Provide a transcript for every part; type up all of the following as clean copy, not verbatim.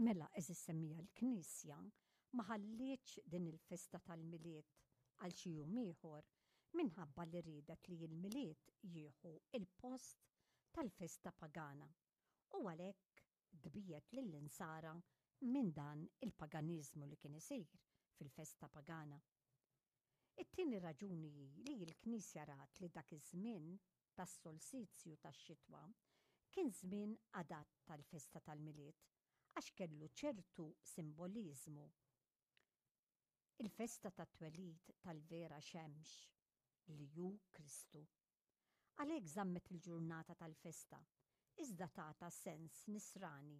Mela, għeżież semmiegħa l-Knisja ma ħallietx din il-festa tal-Milied għal xi jum ieħor minħabba li riedet li l-Milied jieħu l-post tal-festa pagana u għalhekk tbiegħed lill-Insara minn dan il-paganiżmu li kien isir fil-festa pagana. It-tieni raġuni hi li l-Knisja rat li dak iż-żmien tas-solsizju tax-xitwa kien żmien adatt għall-festa tal-Milied għax kellu ċertu simboliżmu. Il-festa tat-twelid tal-vera xemx, li hu Kristu. Għalhekk żammet il-ġurnata tal-festa, iżda tatha sens nisrani.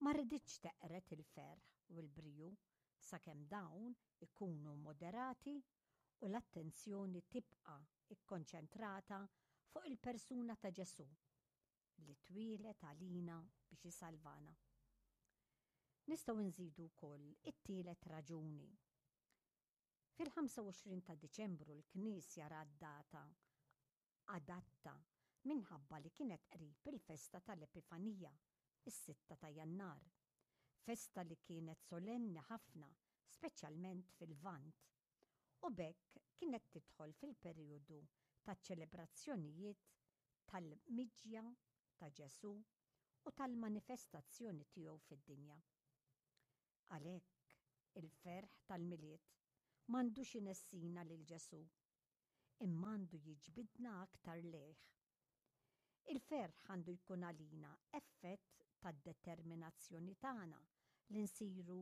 Ma riditx teqred il-ferħ u l-briju sakemm dawn ikunu moderati u l-attenzjoni tibqa' kkonċentrata fuq il-persuna ta' Ġesù li twieled għalina biex isalvana. Nistgħu nżidu wkoll it-tielet raġuni. Fil-25 ta' Diċembru l-Knisja rat data adatta minħabba li kienet qrib il-festa tal-Epifanija, is-sitta ta' Jannar. Festa li kienet solenni ħafna, speċjalment fil-Lvant. U b'hekk kienet tidħol fil-perijodu taċ-ċelebrazzjonijiet tal-miġja ta' Ġesù u tal-manifestazzjoni tiegħu fid-dinja. Għalhekk, il-ferħ tal-Milied m'għandux inessina lil Ġesù, imma għandu jiġbidna aktar lejh. Il-ferħ għandu jkun għalina effett tad-determinazzjoni tagħna li nsiru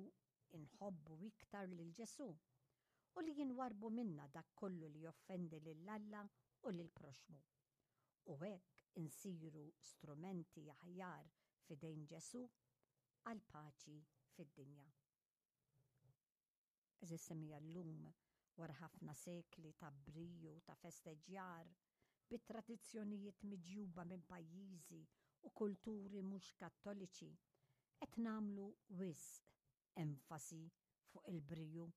nħobbu iktar lil Ġesù u li jinwarrbu minna dak kollu li joffendi lil Alla u lill-proxxmu. U hekk insiru strumenti aħjar f'idejn Ġesù għall-paċi fid-dinja. Għeżież semmiegħa llum, wara ħafna sekli ta' briju, ta' festeġġjar, bi tradizzjonijiet miġjuba minn pajjiżi u kulturi mhux Kattoliċi, qed nagħmlu wisq enfasi fuq il-briju.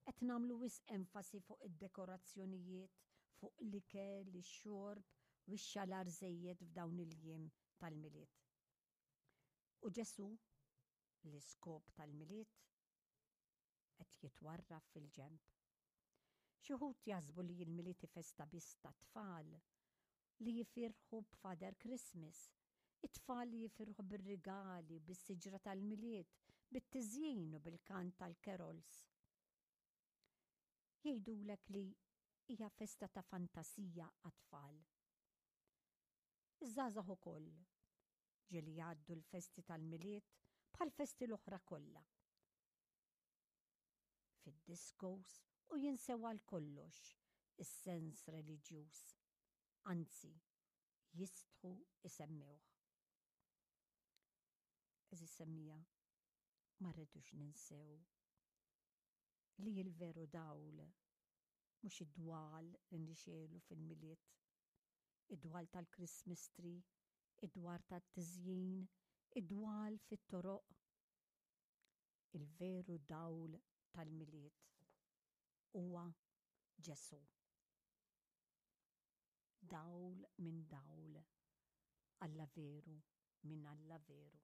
Qed nagħmlu wisq enfasi fuq id-dekorazzjonijiet, fuq l-ikel, ix-xorb u x-xalar żejjed f'dawn il-jiem tal-Milied. U Ġesù, l-iskop tal-Milied, qed jitwarrab fil-ġenb. Xi wħud jaħsbu li l-Milied hi festa biss tat-tfal li jifirħu b'Father Christmas, it-tfal li jifirħu bir-rigali, bis-siġra tal-Milied, bit-tiżjin u bil-kant tal-carols. Jgħidulek li hija festa ta' fantasija għat-tfal. Iż-żgħażagħ ukoll ġieli jgħaddu l-festi tal-Milied bħall-festi l-oħra kollha. Fid-discos u jinsew għal kollox is-sens reliġjuż, anzi jistħu isemmewh. Għeżież semmija, ma rridux ninsew li l-veru dawl mhux id-dwal li nixegħlu fil-Milied, id-dwal tal-Christmas tree, id-dwar tat-tiżjin, id-dwal fit-toroq. Il-veru dawl tal-Milied huwa Ġesù. Dawl minn dawl, Alla veru minn Alla veru.